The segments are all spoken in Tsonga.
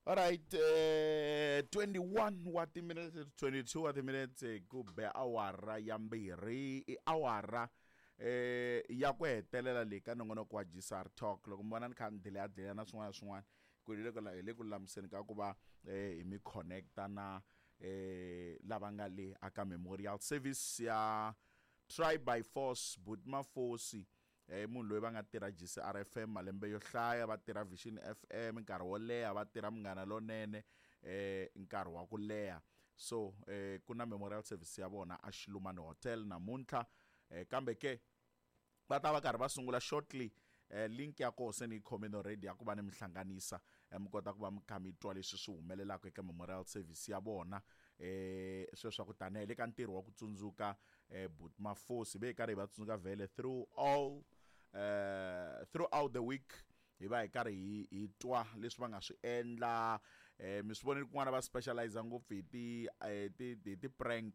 Alright, 21 wa timinete 22 wa timinete ku be awara ya mbirhi i awara ya ku hetelela leyi ka nongonoko wa GCR Talk. Loko mi vona ni kha ni delaya delaya na swin'wana na swin'wana ku hi le ku hi le ku lulamiseni ka ku va hi mi connecta na lava nga le aka memorial service ya Try by Force Buti Mafosi. I munhu loyi va nga tirha GCR FM malembe yo hlaya, va tirha Vision FM nkarhi wo leha, va tirha Munghana Lonene nkarhi wa ku leha. So ku na memorial service ya vona a Xilumani Hotel namuntlha, kambe ke va ta va karhi va sungula shortly. Link ya koho se ni yi khomile already ya ku va ni mi hlanganisa, mi kota ku va mi kha mi twa leswi swi humelelaka eka memorial service ya vona. Sweswo ku tanihi le ka ntirho wa ku tsundzuka Buti Mafosi ve hi karhi hi va tsundzuka vhele through all throughout the week, hi va hi karhi hi hi twa leswi va nga swi endla. Mi swi vonile kun'wana va specialize ngopfu hi ti ti hi ti prank,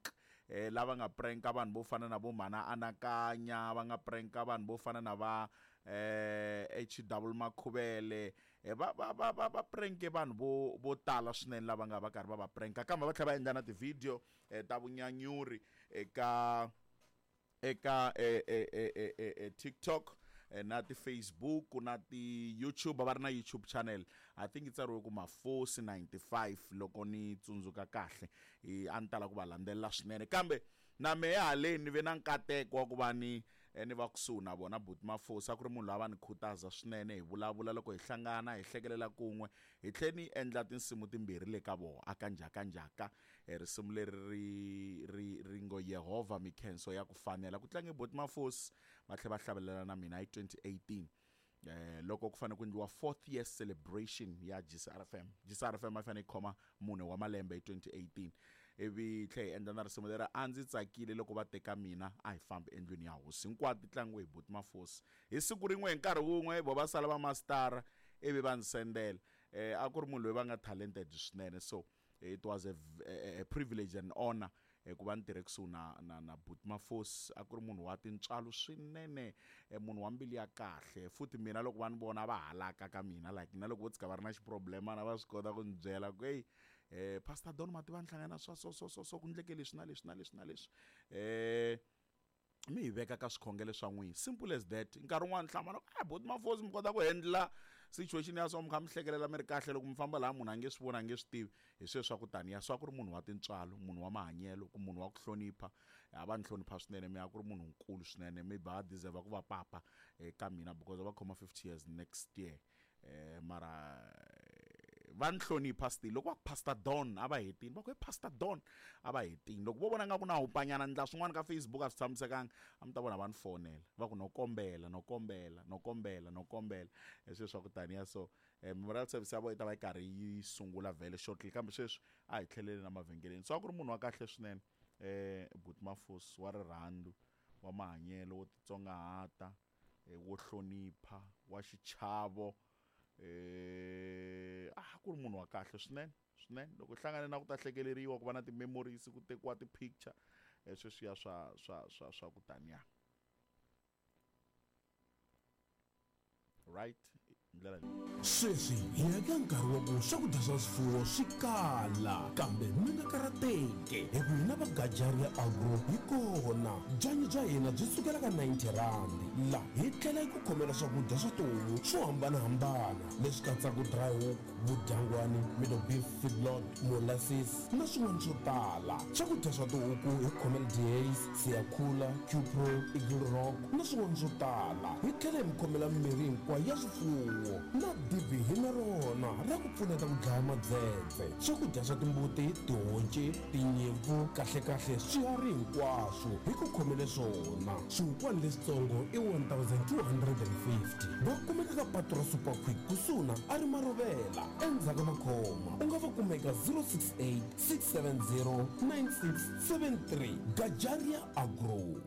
lava nga pranka vanhu vo fana na vo Mhana Anakanya, va nga pranka vanhu vo fana na va HW Makhuvele, va va va va va pranke vanhu vo vo tala swinene lava nga va karhi va va pranka, kambe va tlhela va endla na ti-video ta vunyanyuri eka eka TikTok na ti-Facebook na ti-YouTube. Va ri na YouTube channel, I think yi tsariwe ku Mafosi 95 loko ni tsundzuka kahle. A ni tala ku va landzelela swinene, kambe na mehe haleni ni ve na nkateko wa ku va ni ni va kusuhi na vona. Buti Mafosi a ku ri munhu loyi a va ni khutaza swinene, hi vulavula loko hi hlangana, hi hlekelela kun'we, hi tlhe ni endla tinsimu timbirhi le ka vona aka njhaka njhaka. Risimu leri ri ri ri ngo Yehovha mikhenso ya ku fanela, ku tlange Buti Mafosi va tlhela va hlavelela na mina hi 2018, loko ku fanele ku endliwa fourth year celebration ya GCRFM. GCRFM a yi fanele yi khoma mune wa malembe hi 2018, ivi tlhe hi endla na risimu leri a ndzi tsakile loko va teka mina a hi fambi endlwini ya hosi. Hinkwato ti tlangiwe hi Buti Mafosi hi siku rin'we hi nkarhi wun'we, vo va sala va mastara ivi va ndzi sendela. A ku ri munhu loyi va nga talented swinene, so it was a privilege and honor ku va ni tirhe kusuhi na na na Buti Mafosi. A ku ri munhu wa tintswalo swinene, munhu wa mbilu ya kahle. Futhi mina loko va ni vona va halaka ka mina, like na loko vo tshika va ri na xiproblemana va swi kota ku ni byela ku hey, Pastor Don ma tiva ni hlangana swa so so so so, ku ndleke leswi na leswi na leswi na leswi, mi hi veka ka swikhongelo swa n'wina, simple as that. Nkarhi wun'wani hlamala ku Buti Mafosi mi kota ku handle situation ya so, mi kha mi hlekelela mi ri kahle, loko mi famba laha munhu a nge swi voni, a nge swi tivi. Hi sweswo swa ku taniya, so a ku ri munhu wa tintswalo, munhu wa mahanyelo, ku munhu wa ku hlonipha. A va ni hlonipha swinene, mi a ku ri munhu nkulu swinene, maybe a deserve ku va papa ka mina because va khoma 50 years next year. Mara va ni hlonipha still. Loko va ku Pastor Don a va hetini, va ku he Pastor Don a va hetini. Loko vo vona nga ku na hupanyana ndla swin'wana ka Facebook a swi tshamisekanga, a mi ta vona va ni fonela va ku no kombela, no kombela, no kombela, no kombela. Sweswi swa ku taniya. So memorial service ya vona yi ta va yi karhi yi sungula vhele shortly, kambe sweswi a hi tlheleli na mavhengeleni. So a ku ri munhu wa kahle swinene, Buti Mafosi, wa rirhandzu, wa mahanyelo, wo titsongahata, wo hlonipha, wa xichavo, a ku ri munhu wa kahle swinene swinene. Loko hlangane na ku ta hlekeleriwa, ku va na ti-memories, ku tekiwa ti-picture, sweswiya swa swa swa swa ku taniya, right ndlela leyi. Sweswi hi ya eka nkarhi wa ku swakudya swa swifuwo swi kala, kambe mi nga karhateki hi ku hina va Gajaria Agro hi kona. Byanyi bya hina byi sukela ka 90 rhandi. La hi tlhela hi ku khomela swakudya swa tihomu swo hambana-hambana leswi katsaka dry hook, vudyangwani, middle beef feedlot, molasses na swin'wana swo tala. Swakudya swa tihuku hi ku khomela Dehaze, Siyakhula, Qpro, Eagle Rock na swin'wana swo tala. Hi tlhela hi mi khomela mimirhi hinkwayo ya swifuwo na dibi hi na rona ra ku pfuneta ku dlaya madzedze. Swakudya swa timbuti, tihonci, tinyimpfu, kahle-kahle swiharhi hinkwaswo hi ku khomele swona. Swihukwana leswitsongo i 1250. Va kumeka ka patu ra Super Quick kusuhi na Arimarovela endzhaku ka Makhoma. U nga va kuma eka 068 670 9673. Gajaria Agro.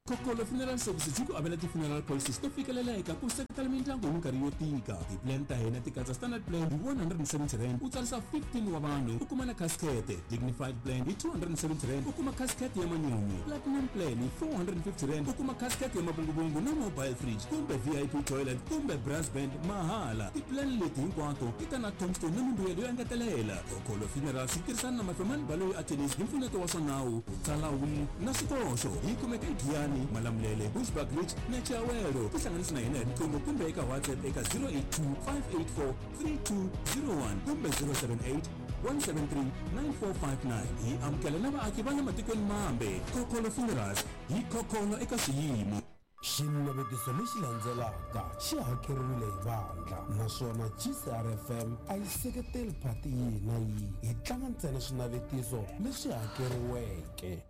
Kokolo Funeral Services yi ku avela ti-funeral policies to fikeleleka ku seketela mindyangu hi minkarhi yo tika. Ti-plan ta hina ti katsa standard plan hi R170 u tsarisa 15 wa vanhu u kuma na casket, dignified plan hi R270 u kuma casket ya manyunyu, platinum plan hi R450 u kuma casket ya mavunguvungu na mobile fridge kumbe VIP toilet kumbe brass band mahala. Ti-plan leti hinkwato ti ta na tombstone na mimbuyelo yo engetelela. Kokolo Funerals yi tirhisana na Mafemani Baloyi Attorneys hi mpfuneto wa swa nawu, ku tsala will na swikoxo. Yi kumeka eGiyani, Malamulele, Bushbuckridge na Chiawelo. Tihlanganisi na hina hi riqingho kumbe eka WhatsApp eka 082 584 3201 kumbe 078 173 9459. Hi amukela na vaaki va le matikweni mambe. Kokolo Funerals hi khokholo eka swiyimo. Xinavetiso lexi landzelaka xi hakeriwile hi vandla naswona GCRFM a yi seketeli phati yihi na yihi. Hi tlanga ntsena swinavetiso leswi hakeriweke.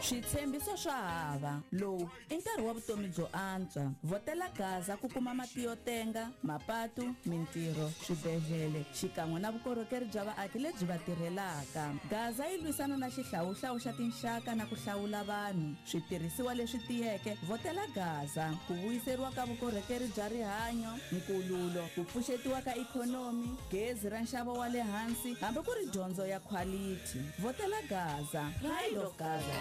Switshembiso swa hava. Lowu i nkarhi wa vutomi byo antswa. Vhotela Gaza ku kuma mati yo tenga, mapatu, mintirho, swibedhlele xikan'we na vukorhokeri bya vaaki lebyi va tirhelaka. Gaza yi lwisana na xihlawuhlawu xa tinxaka na ku hlawula vanhu. Switirhisiwa leswi tiyeke, vhotela Gaza ku vuyiseriwa ka vukorhokeri bya rihanyo, nkululo, ku pfuxetiwa ka ikhonomi, gezi ra nxavo wa le hansi hambi ku ri dyondzo ya khwalithi. Vhotela Gaza. Pride of Gaza.